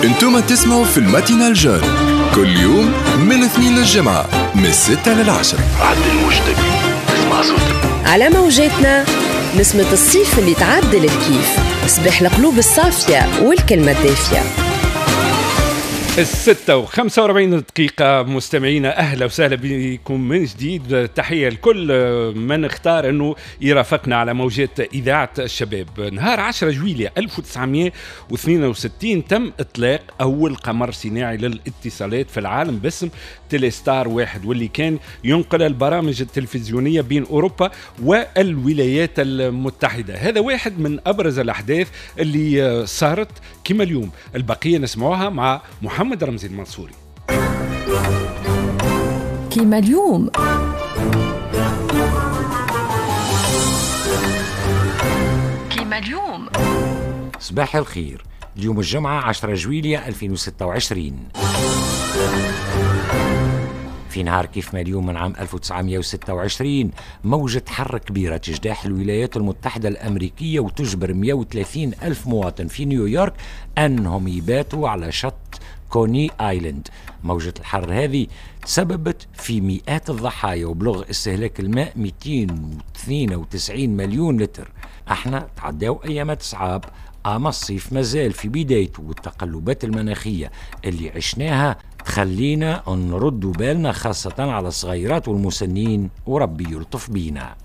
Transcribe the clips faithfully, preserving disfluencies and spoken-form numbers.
انتم تسمعوا في ال matinale jeune كل يوم من الاثنين للجمعة من الستة للعشرة. عدل موجتك تسمع صوتك على موجاتنا، نسمة الصيف اللي تعدل الكيف، صباح القلوب الصافية والكلمة الدافية. الستة وخمسة وأربعين دقيقة مستمعينا، أهلا وسهلا بكم من جديد. تحية لكل من اختار أنه يرافقنا على موجات إذاعة الشباب. نهار عشرة جويلية ألف وتسعمائة واثنين وستين تم إطلاق أول قمر صناعي للاتصالات في العالم باسم تيليستار واحد، واللي كان ينقل البرامج التلفزيونية بين أوروبا والولايات المتحدة. هذا واحد من أبرز الأحداث اللي صارت كما اليوم. البقية نسمعوها مع محمد محمد رمزي المنصوري. كما اليوم. كما اليوم. صباح الخير. اليوم الجمعة عشرة جويلية ألفين وستة وعشرين. في نهار كيف ما اليوم من عام ألف وتسعمائة وستة وعشرين موجة حر كبيرة تجتاح الولايات المتحدة الأمريكية وتجبر مئة وثلاثين ألف مواطن في نيويورك أنهم يباتوا على شط كوني آيلاند. موجة الحر هذه تسببت في مئات الضحايا وبلغ استهلاك الماء مئتين واثنين وتسعين مليون لتر. احنا تعداو ايامات صعاب، اما الصيف مازال في بدايته، والتقلبات المناخية اللي عشناها تخلينا نردوا بالنا خاصة على الصغيرات والمسنين، وربي يلطف بينا.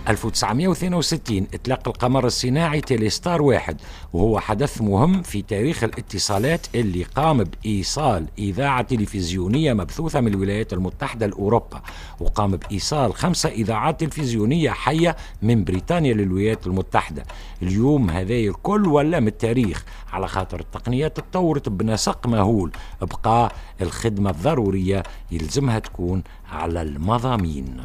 ألف وتسعمائة واثنين وستين إطلاق القمر الصناعي تيليستار واحد، وهو حدث مهم في تاريخ الاتصالات اللي قام بإيصال إذاعة تلفزيونية مبثوثة من الولايات المتحدة لأوروبا، وقام بإيصال خمسة إذاعات تلفزيونية حية من بريطانيا للولايات المتحدة. اليوم هذا الكل ولا من التاريخ، على خاطر التقنيات تطورت بنسق مهول، بقى الخدمة الضرورية يلزمها تكون على المضامين.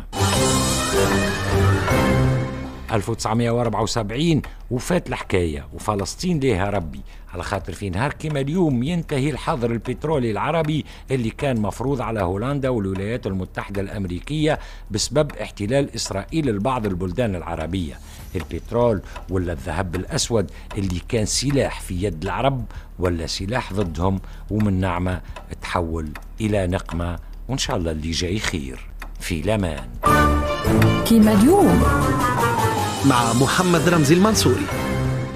ألف وتسعمائة وأربعة وسبعين وفات الحكاية وفلسطين ليها ربي، على خاطر في نهار كما اليوم ينتهي الحظر البترولي العربي اللي كان مفروض على هولندا والولايات المتحدة الأمريكية بسبب احتلال إسرائيل لبعض البلدان العربية. البترول ولا الذهب الأسود اللي كان سلاح في يد العرب ولا سلاح ضدهم، ومن نعمة تحول إلى نقمة، وإن شاء الله اللي جاي خير. في لمان كما اليوم مع محمد رمزي المنصوري.